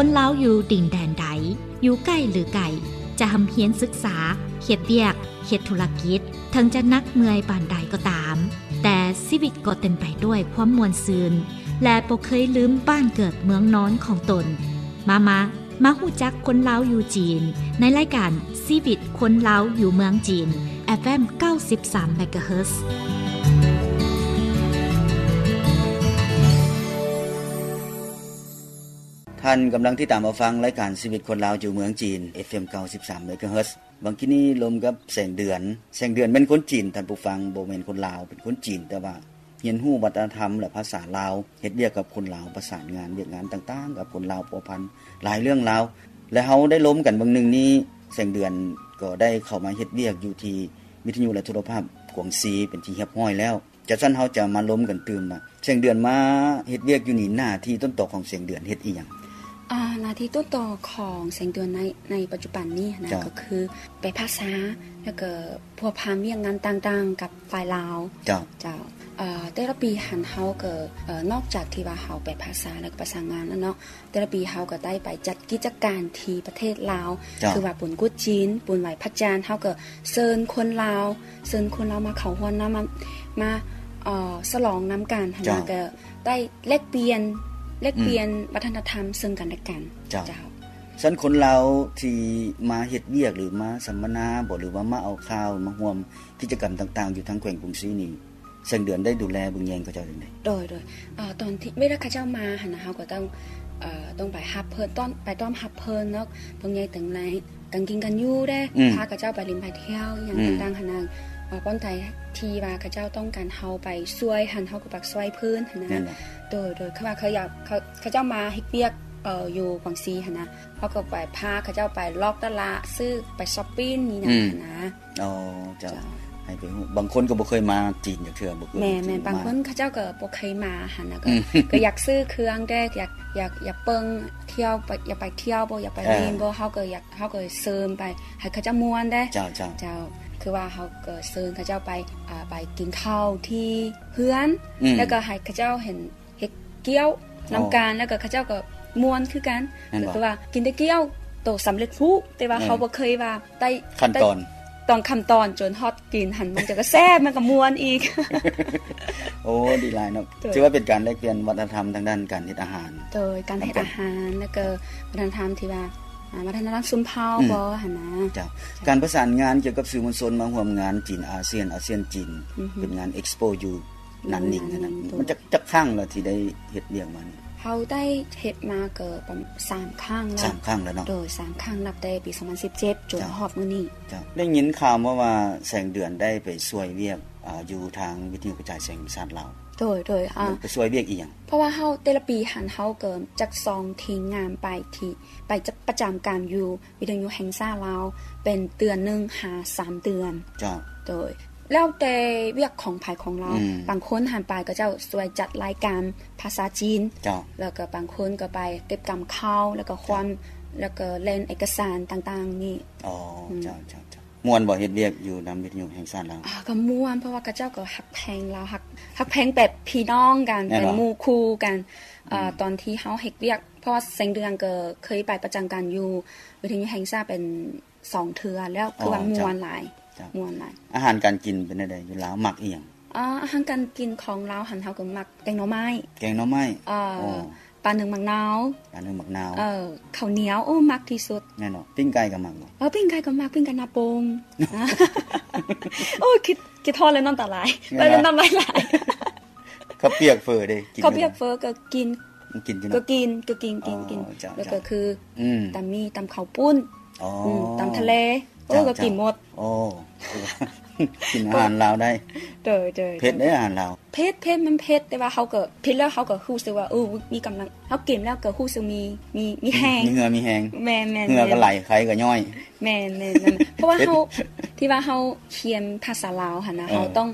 ຄົນລາວຢູ່ດິນແດນໃດ, ຢູ່ໃກ້ຫຼືໄກ, ຈະຮ່ຳຮຽນສຶກສາ, ເຮັດວຽກ, ເຮັດທຸລະກິດ, ເຖິງຈະໜັກເມື່ອຍປານໃດກໍຕາມ, ແຕ່ຊີວິດກໍເຕັມໄປດ້ວຍຄວາມມ່ວນຊື່ນ ແລະ ບໍ່ເຄີຍລືມບ້ານເກີດເມືອງນອນຂອງຕົນ. ມາ ມາ ມາຮູ້ຈັກຄົນລາວຢູ່ຈີນ ໃນລາຍການຊີວິດຄົນລາວຢູ່ເມືອງຈີນ ເອັຟເອັມ ເກົ້າສິບສາມ ເມກາເຮີດ. ທ່ານກຳລັງຕິດຕາມຮັບຟັງລາຍການຊີວິດຄົນລາວຢູ່ເມືອງຈີນ ເອັຟເອັມ ເກົ້າສິບສາມ ເມກາເຮີດ. ບາງທີນີ້ລົມກັບແສງເດືອນ. ແສງເດືອນແມ່ນຄົນຈີນ, ທ່ານຜູ້ຟັງ, ບໍ່ແມ່ນຄົນລາວ, ເປັນຄົນຈີນ, ແຕ່ວ່າຮຽນຮູ້ວັດທະນະທຳ ແລະ ພາສາລາວ, ເຮັດວຽກກັບຄົນລາວ, ປະສານງານວຽກງານຕ່າງໆກັບຄົນລາວ, ພົວພັນຫຼາຍເລື່ອງລາວ. ແລະ ເຮົາໄດ້ລົມກັນເບິ່ງໜຶ່ງນີ້, ແສງເດືອນກໍໄດ້ເຂົ້າມາເຮັດວຽກຢູ່ທີ່ວິທະຍຸ ແລະ ໂທລະພາບກວາງຊີ ເປັນທີ່ຮຽບຮ້ອຍແລ້ວ. ຈາກຊັ້ນເຮົາຈະມາລົມກັນຕື່ມວ່າ ແສງເດືອນມາເຮັດວຽກຢູ່ນີ້ ໜ້າທີ່ຕົ້ນຕໍຂອງແສງເດືອນເຮັດອີ່ຫຍັງ? ອ່າ ໜ້າທີ່ຕົ້ນຕໍຂອງແສງເດືອນໃນ ໃນປັດຈຸບັນນີ້ນະ ເຈົ້າ ກໍຄືແປພາສາ ແລ້ວກໍພົວພັນວຽກງານຕ່າງໆກັບຝ່າຍລາວ. ເຈົ້າ ເຈົ້າ. ເອີ ແຕ່ລະປີຫັ້ນເຮົາກໍ ເອີ ນອກຈາກທີ່ວ່າເຮົາແປພາສາ ແລ້ວກໍປະສານງານແລ້ວເນາະ, ແຕ່ລະປີເຮົາກໍໄດ້ໄປຈັດກິດຈະການທີ່ປະເທດລາວ ເຈົ້າ ຄືວ່າບຸນກຸດຈີນ, ບຸນໄຫວ້ພະຈັນ, ເຮົາກໍເຊີນຄົນລາວ ເຊີນຄົນລາວມາເຂົ້າຮ່ວມນຳ ມາ ມາ ເອີ ສະຫຼອງນຳກັນຫັ້ນນະ ເຈົ້າ ກໍໄດ້ແລກປ່ຽນ ແລກປ່ຽນ ອືມ ວັດທະນະທຳເຊິ່ງກັນແລະກັນ. ເຈົ້າ ເຈົ້າ. ຊັ້ນຄົນລາວທີ່ມາເຮັດວຽກ ຫຼື ມາສຳມະນາບໍ ຫຼືວ່າມາເອົາຂ່າວ ມາຮ່ວມກິດຈະກຳຕ່າງໆຢູ່ທາງແຂວງກວາງຊີນີ້ ແສງເດືອນໄດ້ດູແລເບິ່ງແຍງເຂົາເຈົ້າຈັ່ງໃດ? ໂດຍ ໂດຍ ເອີ ຕອນທີ່ເວລາເຂົາເຈົ້າມາຫັ້ນນະ ເຮົາກໍຕ້ອງ ເອີ ຕ້ອງໄປຮັບເພິ່ນ ຕ້ອນ ໄປຕ້ອນຮັບເພິ່ນເນາະ, ເບິ່ງແຍງແຕ່ງໃນການກິນການຢູ່ເດ້ ອືມ ພາເຂົາເຈົ້າໄປຫຼິ້ນໄປທ່ຽວອີ່ຫຍັງ ອືມ ຕ່າງໆຫັ້ນນະ. ເອີ ບ່ອນໃດທີ່ວ່າເຂົາເຈົ້າຕ້ອງການເຮົາໄປຊ່ວຍຫັ້ນ ເຮົາກໍໄປຊ່ວຍເພິ່ນຫັ້ນນະ. ໂດຍ ໂດຍ ຄືວ່າເຂົາຢາກ ເຂົາ ເຂົາເຈົ້າມາເຮັດວຽກ ເອີ ຢູ່ກວາງຊີຫັ້ນນະ ເຮົາກໍໄປພາເຂົາເຈົ້າໄປລອກຕະຫຼາດ ຊື້ ໄປຊັອບປິງນີ້ນະ ອືມ ຫັ້ນນະ. ອໍ ເຈົ້າ ເຈົ້າ ໃຫ້ໄປຮູ້. ບາງຄົນກໍບໍ່ເຄີຍມາຈີນຈັກເທື່ອ ບໍ່ເຄີຍ ແມ່ນໆ ມາຈີນ. ບາງຄົນເຂົາເຈົ້າກໍບໍ່ເຄີຍມາຫັ້ນນະ ກໍ ອືມ ກໍຢາກຊື້ເຄື່ອງແດ່ ຢາກ ຢາກ ຢາກເບິ່ງທ່ຽວ ຢາກໄປທ່ຽວບໍ ຢາກໄປ ເອີ ຫຼິ້ນບໍ ເຮົາກໍຢາກ ເຮົາກໍເຊີນໄປໃຫ້ເຂົາເຈົ້າມ່ວນເດ້. ເຈົ້າ ເຈົ້າ ເຈົ້າ. ຄືວ່າເຮົາກໍເຊີນເຂົາເຈົ້າໄປ ອ່າ ໄປກິນເຂົ້າທີ່ເຮືອນ ອືມ ແລ້ວກໍໃຫ້ເຂົາເຈົ້າເຫັນ ເຮັດກ້ຽວນຳກັນ ອໍ ແລ້ວກໍເຂົາເຈົ້າກໍມ່ວນຄືກັນ. ແມ່ນບໍ່? ກໍຄືວ່າກິນແຕ່ກ້ຽວໂຕສຳເລັດຮູບ ແຕ່ວ່າ ເອີ ເຮົາບໍ່ເຄີຍວ່າໄດ້ຂັ້ນຕອນ ໄດ້ ຕ້ອງຂັ້ນຕອນຈົນຮອດກິນຫັ້ນ ມັນຈະກໍແຊບ ມັນກໍມ່ວນອີກ. ໂອ້ ດີຫຼາຍເນາະ. ໂດຍ ຖືວ່າເປັນການແລກປ່ຽນວັດທະນະທຳທາງດ້ານການເຮັດອາຫານ ໂດຍ ການເຮັດອາຫານ ແລ້ວກໍວັດທະນະທຳທີ່ວ່າ ອ່າ ວັດທະນະທຳຊົນເຜົ່າ ອືມ ບໍຫັ້ນນະ. ເຈົ້າ ເຈົ້າ. ການປະສານງານກ່ຽວກັບສື່ມວນຊົນມາຮ່ວມງານຈີນອາຊຽນ ອາຊຽນຈີນ ອືຮຶ ເປັນງານເອັກສໂປຢູ່ ນັນນິງຫັ້ນນະ ໂດຍ ມັນຈັກ ຈັກຄັ້ງແລ້ວທີ່ໄດ້ເຮັດວຽກມານີ້? ເຮົາໄດ້ເຮັດມາກໍປະມານສາມຄັ້ງແລ້ວ. ສາມຄັ້ງແລ້ວເນາະ. ໂດຍ ສາມຄັ້ງ ນັບແຕ່ປີສອງພັນສິບເຈັດ ຈົນ ເຈົ້າ ຮອດມື້ນີ້. ເຈົ້າ. ໄດ້ຍິນຂ່າວມາວ່າແສງເດືອນໄດ້ໄປຊ່ວຍວຽກ ອາ ຢູ່ທາງວິທະຍຸກະຈາຍສຽງແຫ່ງຊາດລາວ. ໂດຍ ໂດຍ ອາ ໄປຊ່ວຍວຽກອີ່ຫຍັງ? ເພາະວ່າເຮົາ ແຕ່ລະປີຫັ້ນ ເຮົາກໍຈັດສົ່ງທີມງານໄປທີ່ ໄປປະຈຳການຢູ່ ວິທະຍຸແຫ່ງຊາດລາວ ເປັນເດືອນໜຶ່ງຫາສາມເດືອນ. ເຈົ້າ. ໂດຍ ແລ້ວແຕ່ວຽກຂອງໃຜຂອງລາວ. ອືມ. ບາງຄົນຫັ້ນໄປ ເຂົາເຈົ້າຊ່ວຍຈັດລາຍການພາສາຈີນ. ເຈົ້າ. ແລ້ວກໍບາງຄົນກໍໄປເກັບກຳຂ່າວ ແລ້ວກໍຄວາມ ເຈົ້າ ແລ້ວກໍແລ່ນເອກະສານຕ່າງໆນີ້. ອໍ ອືມ ເຈົ້າ ເຈົ້າ ເຈົ້າ. ມ່ວນບໍ່ ເຮັດວຽກຢູ່ນຳວິທະຍຸແຫ່ງຊາດລາວ? ອາ ກໍມ່ວນ ເພາະວ່າເຂົາເຈົ້າກໍຮັກແພງລາວ ຮັກ ຮັກແພງແບບພີ່ນ້ອງກັນ ແມ່ນບໍ່? ເປັນໝູ່ຄູ່ກັນ. ອືມ. ອາ ຕອນທີ່ເຮົາເຮັດວຽກ ເພາະວ່າແສງເດືອນກໍເຄີຍໄປປະຈຳການຢູ່ວິທະຍຸແຫ່ງຊາດເປັນສອງເທື່ອແລ້ວ ອໍ ຄືວ່າມ່ວນຫຼາຍ. ເຈົ້າ ເຈົ້າ ມ່ວນຫຼາຍ. ອາຫານການກິນເປັນແນວໃດຢູ່ລາວ? ມັກອີ່ຫຍັງ? ອາ ອາຫານການກິນຂອງລາວຫັ້ນ ເຮົາກໍມັກແກງໜໍ່ໄມ້. ແກງໜໍ່ໄມ້? ເອີ ໂອ້ ປາໜຶ້ງໝາກນາວ. ປາໜຶ້ງໝາກນາວ. ເອີ ເຂົ້າໜຽວ ໂອ້ ມັກທີ່ສຸດ. ແມ່ນເນາະ. ປີ້ງໄກ່ກໍມັກບໍ່? ເອີ ປີ້ງໄກ່ກໍມັກ ປີ້ງໄກ່ໜ້າໂປ່ງ. ໂອ້ ຄິດ ຄິດຮອດແລ້ວນ້ຳຕາໄຫຼ. ແມ່ນບໍ່? ໄປແລ້ວນ້ຳລາຍໄຫຼ. ເຂົ້າປຽກເຝີເດ້ ກິນຢູ່ບໍ່? ເຂົ້າປຽກເຝີກໍກິນ. ກິນຢູ່ເນາະ? ກໍກິນ ກໍກິນ ກິນ ອໍ ກິນ. ເຈົ້າ ແລ້ວກໍຄື ອືມ ຕຳໝີ່ ຕຳເຂົ້າປຸ້ນ. ອໍ ອືມ ຕຳທະເລ. ໂອ້ ເຈົ້າ ກໍກິນໝົດ. ໂອ້ ກິນອາຫານລາວໄດ້. ໂດຍ ໂດຍ ເຜັດເດ້ອາຫານລາວ. ເຜັດ ເຜັດ ມັນເຜັດ ແຕ່ວ່າເຮົາກໍ ເຜັດແລ້ວເຮົາກໍຮູ້ສຶກວ່າ ເອີ ມີກຳລັງ ເຮົາກິນແລ້ວກໍຮູ້ສຶກມີ ມີ ມີແຮງ ມີເຫື່ອມີແຮງ. ແມ່ນໆ ເຫື່ອກໍໄຫຼ ໄຄກໍຍ້ອຍ. ແມ່ນໆ ເພາະວ່າເຮົາ ທີ່ວ່າເຮົາຮຽນພາສາລາວຫັ້ນນະ ເອີ ເຮົາຕ້ອງ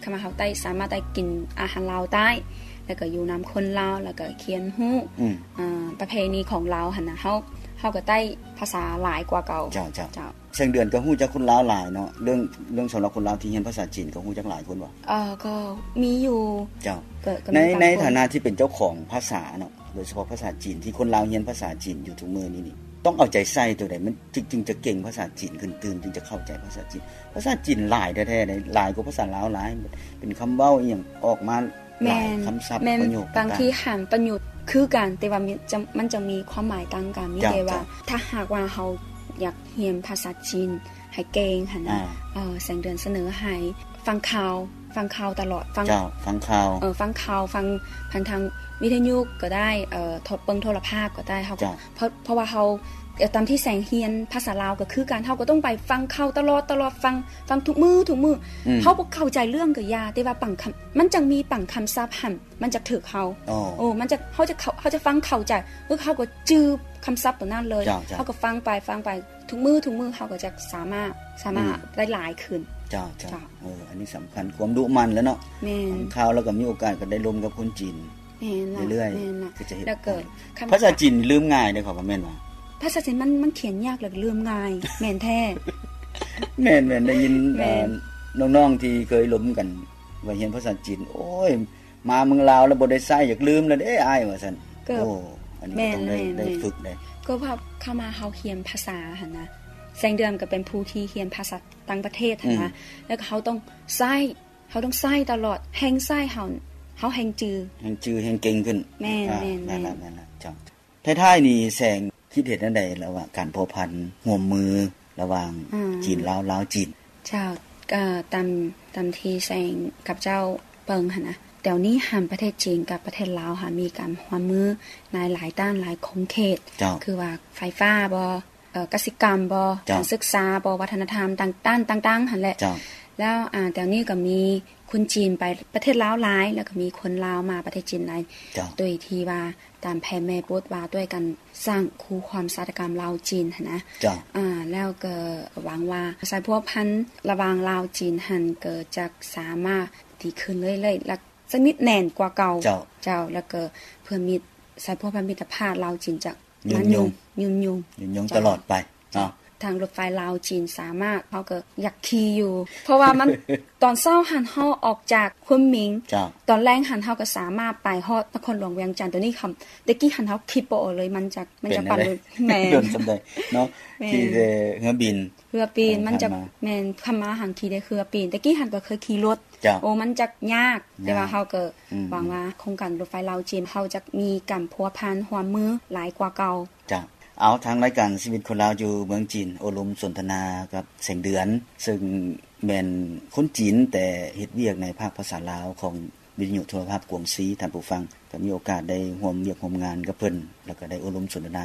ຄຳວ່າເຮົາໄດ້ ສາມາດໄດ້ກິນອາຫານລາວໄດ້ ແລ້ວກໍຢູ່ນຳຄົນລາວ ແລ້ວກໍຮຽນຮູ້ ອືມ ອ່າ ປະເພນີຂອງລາວຫັ້ນນະ ເຮົາ ເຮົາກໍໄດ້ພາສາຫຼາຍກວ່າເກົ່າ. ເຈົ້າ ເຈົ້າ ເຈົ້າ. ແສງເດືອນກໍຮູ້ຈັກຄົນລາວຫຼາຍເນາະ ເລື່ອງ ເລື່ອງສຳລັບຄົນລາວທີ່ຮຽນພາສາຈີນກໍຮູ້ຈັກຫຼາຍຄົນບໍ່? ເອີ ກໍມີຢູ່. ເຈົ້າ. ກໍ ກໍ ໃນ ມີບາງຄົນ ໃນຖານະທີ່ເປັນເຈົ້າຂອງພາສາເນາະ ໂດຍສະເພາະພາສາຈີນ ທີ່ຄົນລາວຮຽນພາສາຈີນຢູ່ທຸກມື້ນີ້ນີ້ ຕ້ອງເອົາໃຈໃສ່ໂຕໃດ ມັນຈຶ່ງ ຈຶ່ງຈະເກັ່ງພາສາຈີນຂຶ້ນຕື່ມ ຈຶ່ງຈະເຂົ້າໃຈພາສາຈີນ. ພາສາຈີນຫຼາຍແທ້ໆເດ້ ຫຼາຍກວ່າພາສາລາວຫຼາຍ ເປັນຄຳເວົ້າອີ່ຫຍັງອອກມາຫຼາຍ ແມ່ນ ຄຳສັບ ແມ່ນ ປະໂຫຍກຕ່າງໆ ບາງທີຫາງປະໂຫຍກຄືກັນ ແຕ່ວ່າມັນຈະ ມັນຈະມີຄວາມໝາຍຕ່າງກັນ. ມີແຕ່ວ່າ ເຈົ້າ ເຈົ້າ ຖ້າຫາກວ່າເຮົາຢາກຮຽນພາສາຈີນໃຫ້ເກັ່ງຫັ້ນນະ ອ່າ ເອີ ແສງເດືອນສະເໜີໃຫ້ຟັງຂ່າວ ຟັງຂ່າວຕະຫຼອດ ຟັງ ເຈົ້າ ຟັງຂ່າວ ເອີ ຟັງຂ່າວ ຟັງຜ່ານທາງວິທະຍຸກໍໄດ້ ເອີ ໂທ ເບິ່ງໂທລະພາບກໍໄດ້ ເຮົາກໍ ເຈົ້າ ເພາະ ເພາະວ່າເຮົາ ເອີ ຕາມທີ່ແສງຮຽນພາສາລາວກໍຄືກັນ ເຮົາກໍຕ້ອງໄປຟັງຂ່າວຕະຫຼອດ ຕະຫຼອດ ຟັງ ຟັງທຸກມື້ ທຸກມື້ ອືມ ເຮົາບໍ່ເຂົ້າໃຈເລື່ອງກໍຢ່າ ແຕ່ວ່າບາງຄຳ ມັນຈັ່ງມີບາງຄຳສັບຫັ້ນ ມັນຈະຖືກເຮົາ ໂອ້ ໂອ້ ມັນຈະ ເຮົາຈະເຂົ້າ ເຮົາຈະຟັງເຂົ້າໃຈ ເອີ ເຮົາກໍຈື່ຄຳສັບຕົວນັ້ນເລີຍ ເຈົ້າ ເຈົ້າ ເຮົາກໍຟັງໄປ ຟັງໄປ ທຸກມື້ ທຸກມື້ເຮົາກໍຈະສາມາດ ສາມາດ ອືມ ໄດ້ຫຼາຍຂຶ້ນ. ເຈົ້າ ເຈົ້າ ເຈົ້າ ເອີ ອັນນີ້ສຳຄັນ ຄວາມດຸໝັ່ນແຫຼະເນາະ ແມ່ນ ຟັງຂ່າວແລ້ວກໍມີໂອກາດກໍໄດ້ລົມກັບຄົນຈີນ ແມ່ນລະ ເລື້ອຍໆ ແມ່ນລະ ກໍຈະເຮັດ ແລ້ວກໍ ໄດ້ ຄຳ ພາສາຈີນລືມງ່າຍເດ້ ເຂົາວ່າແມ່ນຫວາ? ພາສາຈີນມັນ ມັນຂຽນຍາກ ແລ້ວກໍລືມງ່າຍ ແມ່ນແທ້ ແມ່ນໆ ໄດ້ຍິນ ແມ່ນ ເອີ ນ້ອງໆທີ່ເຄີຍລົມກັນ ວ່າຮຽນພາສາຈີນ ໂອ້ຍ ມາເມືອງລາວແລ້ວບໍ່ໄດ້ໃຊ້ ຢາກລືມແລ້ວເດ້ອ້າຍ ວ່າຊັ້ນ. ກໍ ໂອ້ ອັນນີ້ກໍຕ້ອງໄດ້ ແມ່ນ ໄດ້ ແມ່ນ ໄດ້ຝຶກເດ້ ກໍເພາະເຂົ້າມາເຮົາຮຽນພາສາຫັ້ນນະ ແສງເດືອນກໍເປັນຜູ້ທີ່ຮຽນພາສາຕ່າງປະເທດຫັ້ນນະ ອືມ ແລ້ວກໍເຮົາຕ້ອງໃຊ້ ເຮົາຕ້ອງໃຊ້ຕະຫຼອດ ແຮ່ງໃຊ້ເຮົາ ເຮົາແຮ່ງຈື່ ແຮ່ງຈື່ ແຮ່ງເກັ່ງຂຶ້ນ. ແມ່ນ ອ່າ ແມ່ນ ແມ່ນລະ ແມ່ນລະ ເຈົ້າ. ທ້າຍໆນີ້ແສງຄິດເຫັນແນວໃດລະຫວ່າງການພົວພັນຮ່ວມມືລະຫວ່າງ ອ່າ ຈີນລາວ ລາວຈີນ? ເຈົ້າ ກໍຕາມ ຕາມທີ່ແສງກັບເຈົ້າເບິ່ງຫັ້ນນະ ດຽວນີ້ຫັ້ນປະເທດຈີນກັບປະເທດລາວຫັ້ນມີການຮ່ວມມືໃນຫຼາຍດ້ານຫຼາຍຂົງເຂດ ເຈົ້າ ຄືວ່າໄຟຟ້າບໍ ເອີ ກະສິກຳບໍ ເຈົ້າ ການສຶກສາບໍ ວັດທະນະທຳຕ່າງ ດ້ານຕ່າງໆຫັ້ນແຫຼະ ເຈົ້າ ແລ້ວ ອ່າ ດຽວນີ້ກໍມີຄົນຈີນໄປປະເທດລາວຫຼາຍ ແລ້ວກໍມີຄົນລາວມາປະເທດຈີນຫຼາຍ ເຈົ້າ ໂດຍທີ່ວ່າ ຕາມແຜນແມ່ບົດວ່າດ້ວຍກັນສ້າງຄູ່ຄວາມສາຕະກຳລາວຈີນຫັ້ນນະ ເຈົ້າ ອ່າ ແລ້ວກໍຫວັງວ່າສາຍພົວພັນລະຫວ່າງລາວຈີນຫັ້ນກໍຈະສາມາດດີຂຶ້ນເລື້ອຍໆ ແລະ ສະໜິດແໜ້ນກວ່າເກົ່າ ເຈົ້າ ເຈົ້າ ແລ້ວກໍເພື່ອມິດ ສາຍພົວພັນມິດຕະພາບລາວຈີນຈະ ຍືນຍົງ ມາຍືນຍົງ ຍືນຍົງ ເຈົ້າ ຕະຫຼອດໄປເນາະ ເຈົ້າ ທາງລົດໄຟລາວຈີນສາມາດ ເຮົາກໍຢາກຂີ່ຢູ່ ເພາະວ່າມັນ ຕອນເຊົ້າຫັ້ນເຮົາອອກຈາກຄຸນໝິງ ເຈົ້າ ຕອນແລງຫັ້ນເຮົາກໍສາມາດໄປຮອດນະຄອນຫຼວງວຽງຈັນ ໂຕນີ້ຄຳ ແຕ່ກີ້ຫັ້ນເຮົາຄິດບໍ່ອອກເລີຍ ມັນຈະ ມັນຈະປານ ແມ່ນ ດົນສ່ຳໃດເນາະ ແມ່ນ ຂີ່ແຕ່ເຮືອບິນ ເຮືອບິນ ມັນຈະ ແມ່ນ ຄຳມາຫັ້ນຂີ່ແຕ່ເຮືອບິນ ແຕ່ກີ້ຫັ້ນກໍເຄີຍຂີ່ລົດ ເຈົ້າ ໂອ້ ມັນຈະຍາກ ຍາກ ແຕ່ວ່າເຮົາກໍ ອືມ ຫວັງວ່າໂຄງການລົດໄຟລາວຈີນ ເຮົາຈະມີການພົວພັນຮ່ວມມືຫຼາຍກວ່າເກົ່າ. ເຈົ້າ ເອົາ ທາງລາຍການຊີວິດຄົນລາວຢູ່ເມືອງຈີນ ໂອ້ລົມສົນທະນາກັບແສງເດືອນ ເຊິ່ງແມ່ນຄົນຈີນ ແຕ່ເຮັດວຽກໃນພາກພາສາລາວຂອງວິທະຍຸໂທລະພາບກວງຊີ ທ່ານຜູ້ຟັງ ກໍມີໂອກາດໄດ້ຮ່ວມວຽກຮ່ວມງານກັບເພິ່ນ ແລ້ວກໍໄດ້ໂອ້ລົມສົນທະນາ